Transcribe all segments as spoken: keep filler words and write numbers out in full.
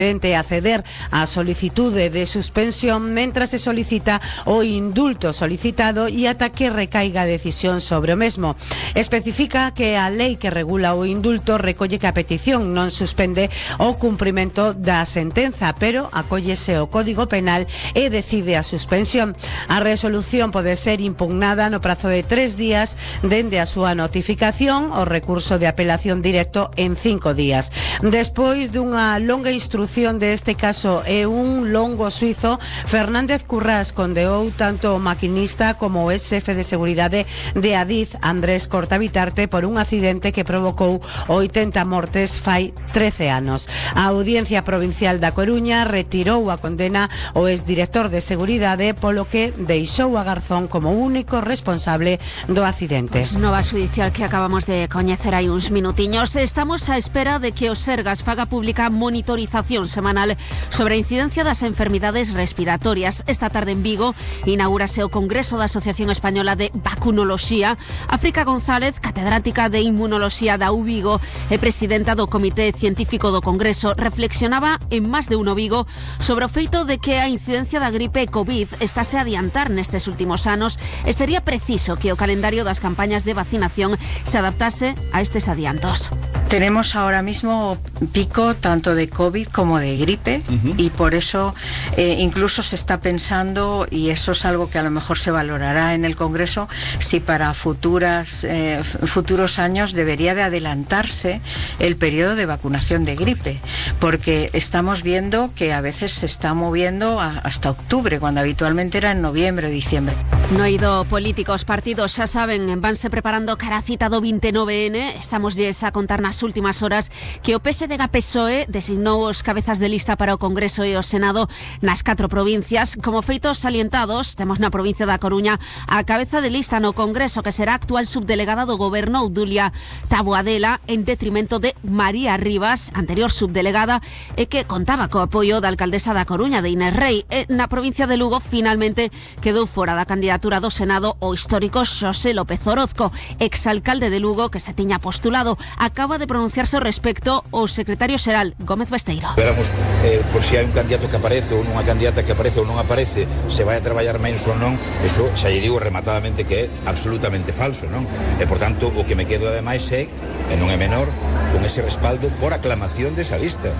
a ceder a solicitude de suspensión mentras se solicita o indulto solicitado e ata que recaiga a decisión sobre o mesmo. Especifica que a lei que regula o indulto recolle que a petición non suspende o cumprimento da sentenza, pero acóllese o Código Penal e decide a suspensión. A resolución pode ser impugnada no prazo de tres días dende a súa notificación, o recurso de apelación directo en cinco días. Despois dunha longa instrucción deste caso e un longo suizo, Fernández Currás condeou tanto o maquinista como o ex-xefe de seguridade de Adif, Andrés Cortabitarte, por un accidente que provocou oitenta mortes fai trece anos. A Audiencia Provincial da Coruña retirou a condena ao ex-director de seguridade, polo que deixou a Garzón como único responsable do accidente. Pues nova judicial que acabamos de coñecer hai uns minutiños. Estamos á espera de que o Sergas faga pública monitorización semanal sobre a incidencia das enfermidades respiratorias. Esta tarde en Vigo inaugúrase o Congreso da Asociación Española de Vacunoloxía. África González, catedrática de Inmunoloxía da U Vigo e presidenta do Comité Científico do Congreso, reflexionaba en Más de Uno Vigo sobre o feito de que a incidencia da gripe COVID estase a adiantar nestes últimos anos e sería preciso que o calendario das campañas de vacinación se adaptase a estes adiantos. Tenemos ahora mismo pico tanto de COVID como de gripe, uh-huh. y por eso eh, incluso se está pensando, y eso es algo que a lo mejor se valorará en el Congreso, si para futuras eh, futuros años debería de adelantarse el periodo de vacunación de gripe, porque estamos viendo que a veces se está moviendo a, hasta octubre, cuando habitualmente era en noviembre o diciembre. No ido políticos, partidos, xa saben, vanse preparando cara a cita do veintinueve ene. Estamos lles a contar nas últimas horas que o P S D G P S O E designou os cabezas de lista para o Congreso e o Senado nas catro provincias. Como feitos salientados, temos na provincia da Coruña a cabeza de lista no Congreso, que será actual subdelegada do Goberno, Obdulia Taboadela, en detrimento de María Rivas, anterior subdelegada, e que contaba co apoio da alcaldesa da Coruña, de Inés Rei. E na provincia de Lugo, finalmente, quedou fora da candidatura do Senado o histórico Xosé López Orozco, exalcalde de Lugo, que se tiña postulado. Acaba de pronunciarse ao respecto o secretario xeral, Gómez Besteiro. Veramos eh, por si hai un candidato que aparece ou nunha candidata que aparece ou non aparece, se vai a traballar menos ou non, eso xa lle digo rematadamente que é absolutamente falso, non? E, por tanto, o que me quedo ademais é, e non é menor, con ese respaldo por aclamación desa lista. Eh,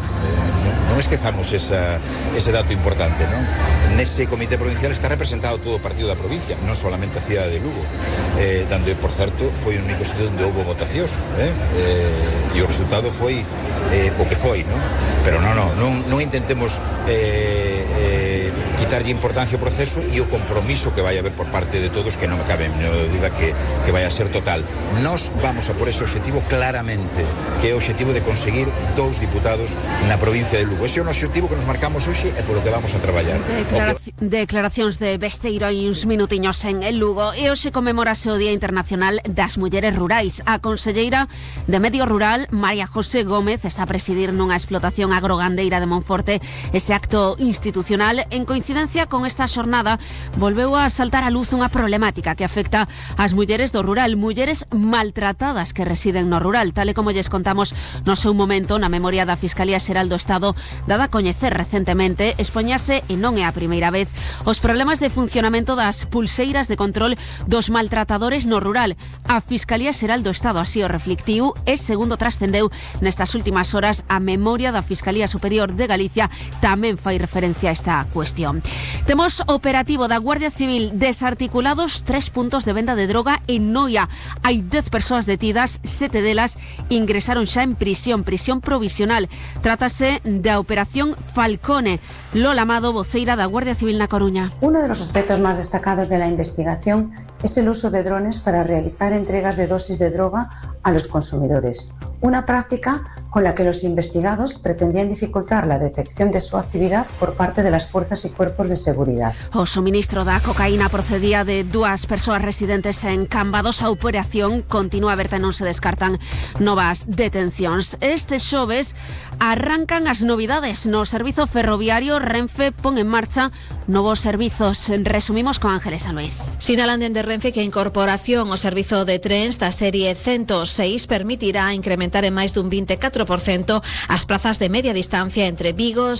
non, non esquezamos esa, ese dato importante, non? Nese comité provincial está representado todo o partido da provincia, non solamente a cidade de Lugo, eh, dando, por certo, foi o único sitio onde houve votacións, eh? Eh, e o resultado foi eh, o que foi, non? Pero non, non, non, non intentemos eh, eh, quitarlle importancia ao proceso e o compromiso que vai haber por parte de todos, que non me cabe non duda que, que vai a ser total. Nos vamos a por ese objetivo claramente, que é o objetivo de conseguir dous diputados na provincia de Lugo. Ese é o objetivo que nos marcamos hoxe e polo que vamos a traballar. Declara que... Declaracións de Besteiro hai uns minutiños en el Lugo. E hoxe conmemorase o Día Internacional das Mulleres Rurais. A conselleira de Medio Rural, María José Gómez, está a presidir nunha explotación agrogandeira de Monforte ese acto institucional. En coincidencia con esta xornada, volveu a saltar a luz unha problemática que afecta ás mulleres do rural, mulleres maltratadas que residen no rural, tal e como lles contamos no seu momento na memoria da Fiscalía Xeral do Estado, dada a coñecer recentemente. Expoñase, e non é a primeira vez, os problemas de funcionamento das pulseiras de control dos maltratadores no rural. A Fiscalía Xeral do Estado así o reflectiu e, segundo trascendeu nestas últimas horas, a memoria da Fiscalía Superior de Galicia tamén fai referencia a esta cuestión. Temos operativo da Guardia Civil, desarticulados tres puntos de venda de droga en Noia. Hai dez persoas detidas, sete delas ingresaron xa en prisión, prisión provisional. Trátase da Operación Falcone. Lola Amado, voceira da Guardia Civil na Coruña. Uno de los aspectos más destacados de la investigación es el uso de drones para realizar entregas de dosis de droga a los consumidores. Una práctica con la que los investigados pretendían dificultar la detección de su actividad por parte de las fuerzas y cuerpos cuerpos de seguridad. O suministro da cocaína procedía de dúas persoas residentes en Cambados. A operación continúa aberta e non se descartan novas detencións. Este xoves arrancan as novidades no servizo ferroviario. Renfe pon en marcha novos servizos. Resumimos con Ángeles San Luis. Sinalan dende Renfe que a incorporación ao servizo de trens da serie ciento seis permitirá incrementar en máis dun vinte e catro por cento as prazas de media distancia entre Vigo,